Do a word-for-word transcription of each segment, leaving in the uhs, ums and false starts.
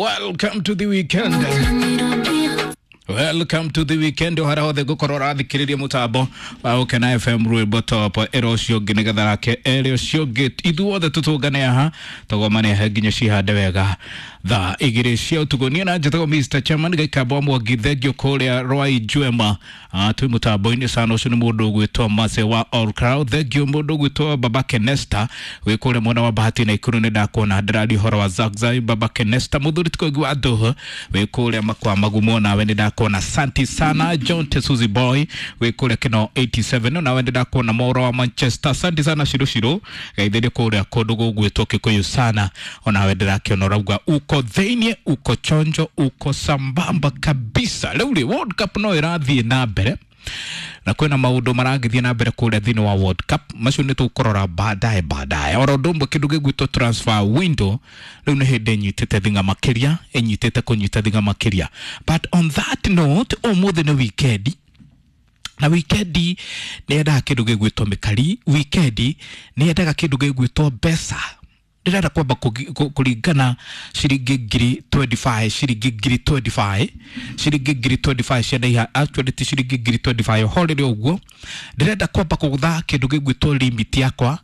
Welcome to the weekend. Welcome to the weekend. Harĩa hothe ngũkorwo ũrathikĩrĩria mũtambo wa Gũkena F M rwĩmbo top ĩra ũcio ũngĩ nĩgetha nake ere ũcio ũngĩ, ithuothe tũtũngane haha tũgomane he nginya cihande wega thaa igĩrĩ cia ũtukũ. Niĩ na njĩtagwo Mister Chairman Gaikamba wa Mwangi, thengio kũrĩa Rwai Njwema. Ah, twĩ mũtambo-inĩ sana. Ũcio nĩ mũndũ ũgwĩtwo Mase wa All Crowd. Thengio mũndũ ũgwĩtwo Baba Kenesta wĩ kũrĩa mwena wa Bahati na Ikuru, nĩ ndakuona ndĩraria ũhoro wa Zagzai. Baba Kenesta mũthuri tikoigi wa ndũhũ wĩ kũrĩa makwa magumo, nawe nĩ ndakuona. Santi sana John Tesuzi Boy wĩ kũrĩa Kino eighty-seven, nawe nĩ ndakuona Moro wa Manchester. Santi sana Shiro Shiro gaithĩrie kũrĩa kũndũ gũgwĩtwo Kikuyu sana, onawe ndĩrakĩona ũrauga uko thĩiniĩ, uko chonjo, uko sambamba kabisa. Rĩu rĩ, World Cup no ĩrathiĩ na mbere na kwĩna maũndũ maragĩthiĩ na mbere kũrĩa thĩinĩ wa World Cup, macio nĩ tũkũrora baadaye baadaye. Oro ũndũ ũmwe kĩndũ gĩgwĩtwo transfer window rĩu nĩ hĩndĩ ĩnyitĩte thing'a makĩria, ĩnyitĩte kũnyita thing'a makĩria. But on that note, ũmũthĩ nĩ weekend, na wikendi nĩ yendaga kĩndũ gĩgwĩtwo mĩkari, wikendi nĩ yendaga kĩndũ gĩgwĩtwo mbeca. Ndĩrenda kwamba kũringana ciringi ngiri twenty-five, ciringi ngiri twenty-five, ciringi ngiri twenty-five cia ndaiha, actually ti ciringi ngiri twenty-five horere ũguo. Ndĩrenda kwamba kũgũtha kĩndũ gĩgwĩtwo limit yakwa,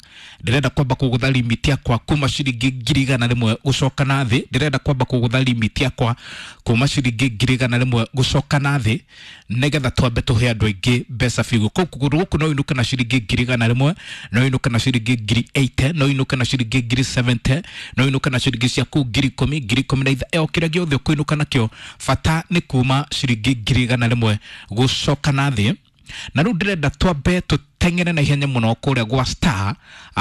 ndĩrenda kwamba kũgũtha limit yakwa kuma ciringi ngiri igana rĩmwe gũcoka na thĩ, ndĩrenda kwamba kũgũtha limit yakwa kuma ciringi ngiri igana rĩmwe gũcoka na thĩ, nĩgetha twambe tũhe andũ aingĩ mbeca biũ. Kũgũrũ gũkũ no ũinũke na ciringi ngiri igana rĩmwe, no ũinũke na ciringi ngiri eighty, no ũinũke na ciringi ngiri seventy, no ũinũke na ciringi ciaku ngiri ikũmi, ngiri ikũmi na itha, o kĩrĩa gĩothe ũkũinũka nakĩo, bata nĩ kuma ciringi ngiri igana rĩmwe gũcoka na thĩ. Na rĩu ndĩrenda twambe tũteng'ere na ihenya mũno kũrĩa gwa star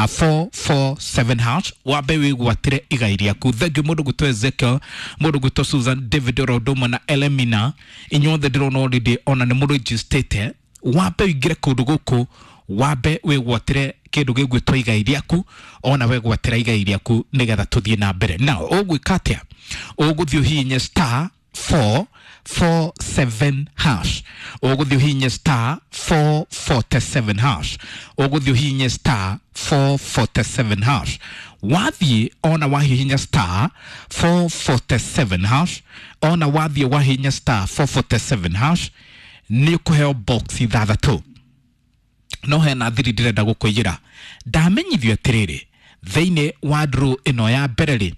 four four seven hash, wambe wĩgwatĩre igai rĩaku. Thengiũ mũndũ gwĩtwo Ezekiel, mũndũ gwĩtwo Susan David, oro ũndũ ũmwe na Elemina, inyuothe ndĩrona already ona nĩ mũrĩnjistĩte. Wambe ũingĩre kũndũ gũkũ, wambe wĩgwatĩre kĩndũ gĩgwĩtwo igai rĩaku, ona wegwatĩra igai rĩaku nĩgetha tũthiĩ na mbere. Na ũgwĩka atĩa? Ũgũthiĩ ũhihinye star four four seven hash, ũgũthiĩ ũhihinye star four forty-seven hash, ũgũthiĩ ũhihinye star four forty-seven hash. Wathiĩ ona wahihinya star four forty-seven hash, ona wathiĩ wahihinya star four forty-seven hash, nĩ ũkũheo box ithathatũ. No hena thiri ndĩrenda gũkũiyĩra. Ndamenyithio atĩrĩrĩ, thĩinĩ wa draw ĩno ya mbere rĩ,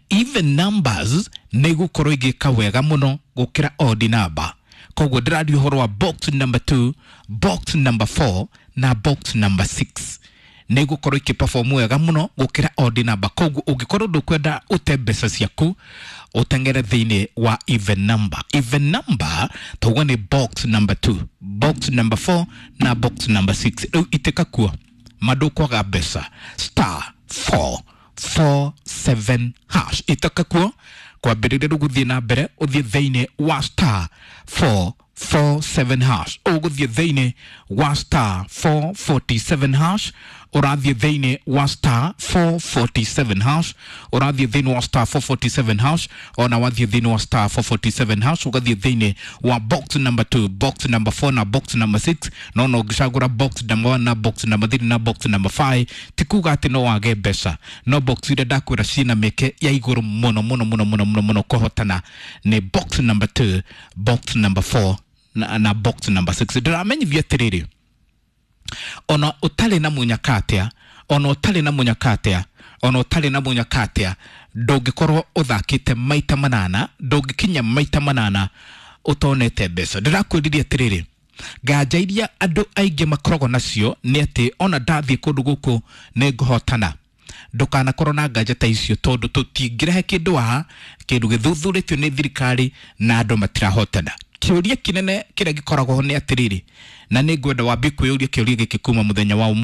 even numbers nĩ igũkorwo igĩka wega mũno gũkĩra odd number. Koguo ndĩraria ũhoro wa box number two, box number four na box number six nĩ igũkorwo ikĩperform wega mũno gũkĩra odd number. Koguo ũngĩkorwo ndũkwenda ũte mbeca ciaku, ũteng'ere thĩinĩ wa even number. Even number tauga nĩ box number two, box number four na box number six. Rĩu itĩka kuo mandũkwaga mbeca star four four seven hash, itĩka kuo kwambĩrĩria rĩu gũthiĩ na mbere, ũthiĩ thĩinĩ wa star four four seven hash, ũgũthiĩ thĩinĩ wa star four forty-seven hash, ũrathiĩ thĩinĩ wa star four forty-seven hash, ũrathiĩ thĩinĩ wa star four forty-seven hash, ona wathiĩ thĩinĩ wa star four forty-seven hash, ũgathiĩ thĩinĩ wa box number two, box number four na box number six. No no ũngĩcagũra box number one na box number three na box number five, ti kuga atĩ no wage mbeca, no box iria ndakwĩra ciĩna mĩeke ya igũrũ mũno mũno mũno mũno mũno mũno kũhotana nĩ box number two, box number four na, na box number six. Ndĩramenyithio atĩrĩrĩ, ona ũtarĩ na mũnyaka atĩa, ona ũtarĩ na mũnyaka atĩa, ona ũtarĩ na mũnyaka atĩa, ndũngĩkorwo ũthakĩte maita manana, ndũngĩkinya maita manana ũtonete mbeca. Ndĩrakwĩririe atĩrĩrĩ, nganja iria andũ aingĩ makoragwo nacio nĩ atĩ ona ndathiĩ kũndũ gũkũ nĩ ngũhotana. Ndũkanakorwo na nganja ta icio, tondũ tũtingĩrehe kĩndũ haha, kĩndũ gĩthuthurĩtio nĩ thirikari na andũ matirahotana. Kĩũria kĩnene kĩrĩa gĩkoragwo ho nĩ atĩrĩrĩ, na nĩ ngwenda wambie kwĩyũria kĩũria gĩkĩ kuma mũthenya wa ũmũthĩ.